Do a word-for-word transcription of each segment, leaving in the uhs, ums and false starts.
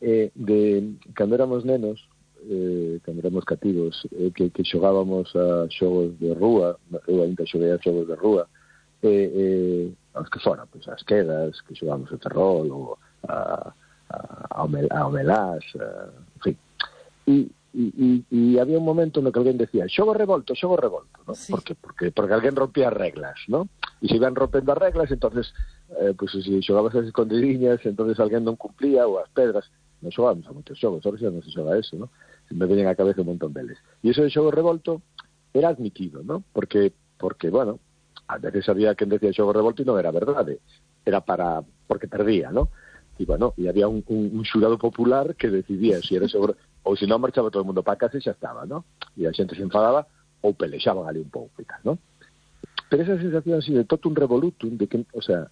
eh, de cando éramos nenos, eh, cando éramos cativos, eh, que, que xogábamos a xogos de rúa, eu ainda xoguei a xogos de rúa, eh, eh, aos que fora, pois as quedas, que xogamos o terrol, ou a, a, a, a omelás, a, en fin. E E, e, e había un momento no que alguén decía xogo revolto, xogo revolto, ¿no? Sí. Por que? Porque, porque alguén rompía as reglas, ¿no? E se iban rompendo as reglas, entonces eh, pues, se xogabas as escondidiñas, entonces alguén non cumplía, ou as pedras. Non xogamos a moitos xogos, ahora xa non se xoga eso, ¿no? Se me veñen a cabeza un montón deles. E iso de xogo revolto era admitido, ¿no? Porque, porque bueno, a veces había quen decía xogo revolto e non era verdade, era para porque perdía, ¿no? E bueno, e había un, un, un xurado popular que decidía se era xogo ou se non marchaba todo o mundo para casa e xa estaba, ¿no? E a xente se enfadaba ou pelexaban ali un pouco e tal, ¿no? Pero esa sensación así de totum revolutum, de que, o sea,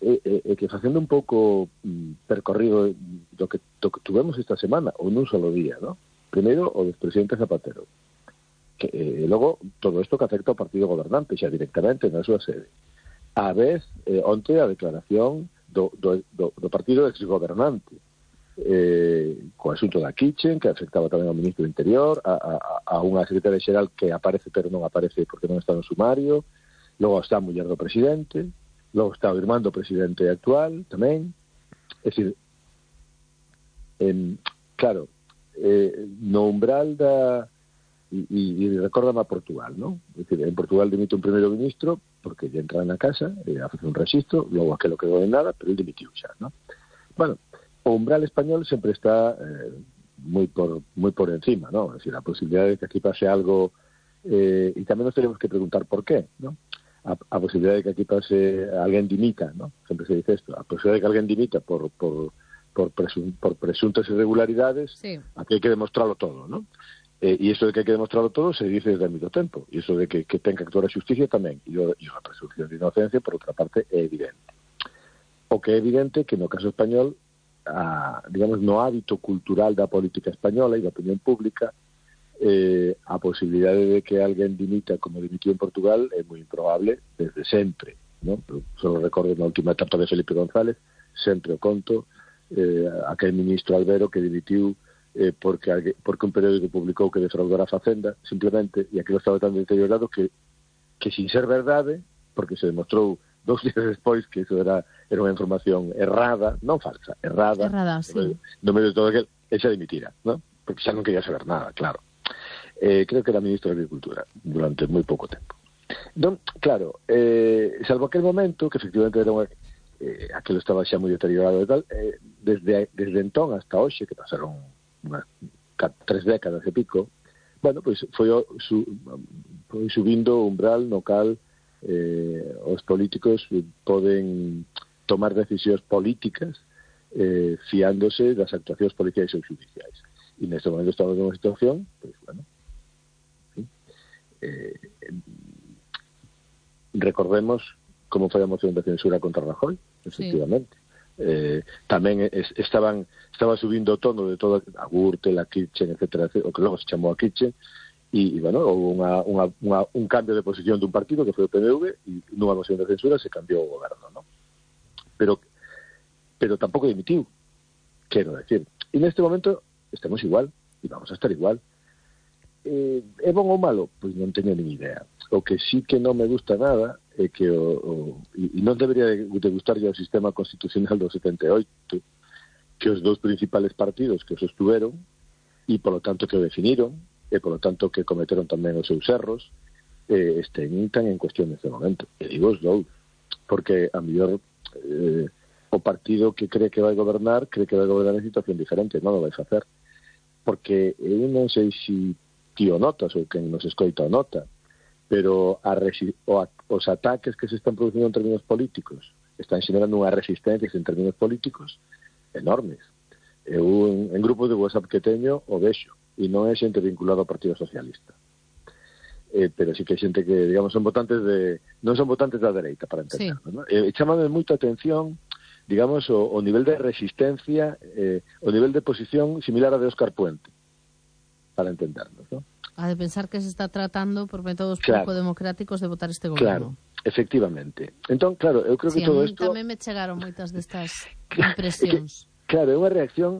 é, é, é que facendo un pouco mm, percorrido do que, do que tuvemos esta semana, ou nun solo día, ¿no? Primeiro, o do presidente Zapatero. Que, eh, logo, todo isto que afecta ao partido gobernante, xa directamente na súa sede. A vez, eh, onte, a declaración do, do, do, do partido exgobernante, eh, co asunto da Kitchen, que afectaba tamén ao ministro do Interior, a, a, a unha secretaria xeral que aparece pero non aparece porque non está no sumario, logo está a muller do presidente, logo está o irmán do presidente actual tamén. É dicir, en, claro, eh, no umbral da e, e, e recórdame a Portugal, ¿no? É dicir, en Portugal dimite un primeiro ministro porque lle entra na casa e a facer un registro, logo aquelo quedou en nada, pero ele dimitiu xa, ¿no? Bueno, o umbral español sempre está eh, moi por moi por encima, ¿no? Es decir, a posibilidad de que aquí pase algo, eh, y tamén nos tenemos que preguntar por qué, ¿no? A, a posibilidad de que aquí pase alguén dimita, ¿no? Sempre se dice esto, a posibilidad de que alguén dimita por por por, presun, por presuntas irregularidades, sí. Aquí hai que demostrarlo todo, ¿no? Eh, e iso de que hai que demostrarlo todo se dice desde moito tempo, e iso de que, que ten que actuar a xusticia tamén, e, o, e a presunción de inocencia, por outra parte, é evidente. O que é evidente que no caso español A, digamos, no hábito cultural da política española e da opinión pública, eh, a posibilidade de que alguén dimita como dimitiu en Portugal é moi improbable desde sempre, ¿no? Só recordo na última etapa de Felipe González, sempre o conto, eh, aquel ministro Albero que dimitiu eh, porque, alguén, porque un periódico publicou que defraudara a Facenda, simplemente, e aquilo estaba tan deteriorado que, que sin ser verdade, porque se demostrou dous días despois que iso era, era unha información errada, non falsa, errada, errada sí. no, medio, no medio de todo aquel, e xa dimitira, ¿no? Porque xa non quería saber nada, claro. Eh, creo que era ministro de Agricultura durante moi pouco tempo. Entón, claro, eh, salvo aquel momento, que efectivamente era unha, eh, aquilo estaba xa moi deteriorado e tal, eh, desde, desde entón hasta hoxe, que pasaron unhas tres décadas e pico, bueno, pois foi, su, foi subindo o umbral no cal Eh, os políticos poden tomar decisións políticas eh, fiándose das actuacións policiais ou judiciais. E neste momento estamos nunha situación, pois, bueno, ¿sí? eh, recordemos como foi a moción de censura contra Rajoy, efectivamente. Sí. Eh, tamén es, estaban estaba subindo o tono de toda a Gürtel, a Kitchen, etcétera, etcétera, o que logo se chamou a Kitchen. E, bueno, houve unha, unha, unha, un cambio de posición dun partido que foi o P N V e nunha moción de censura se cambiou o goberno, ¿no? Pero pero tampouco dimitiu, quero decir. E neste momento estamos igual e vamos a estar igual. Eh, é bon ou malo? Pois non teño nin idea. O que sí que non me gusta nada é que o, o, e non debería de, de gustar o sistema constitucional do setenta e oito, que os dous principales partidos que o sostuveron e, polo tanto, que o definiron, e, polo tanto, que cometeron tamén os seus erros, eh, estén tan en cuestión neste momento. E digo os dous, porque a mellor eh, o partido que cree que vai gobernar, cree que vai gobernar en situación diferente, non o vai facer. Porque eu non sei se ti o notas ou quen nos escoita o nota, pero a resi- o a, os ataques que se están producindo en términos políticos están xenerando unhas resistencias en términos políticos enormes. Eu en, en grupos de WhatsApp que teño o vexo, e non é xente vinculada ao Partido Socialista. Eh, pero sí que é xente que, digamos, son votantes de... non son votantes da dereita, para entenderlo, sí. ¿No? Eh, chamame moita atención, digamos, o, o nivel de resistencia, eh, o nivel de posición similar a de Óscar Puente, para entendernos, ¿no? A de pensar que se está tratando por métodos claro. pouco democráticos de votar este goberno. Claro, efectivamente. Entón, claro, eu creo sí, que todo isto... isto... tamén me chegaron moitas destas impresións. Que, claro, é unha reacción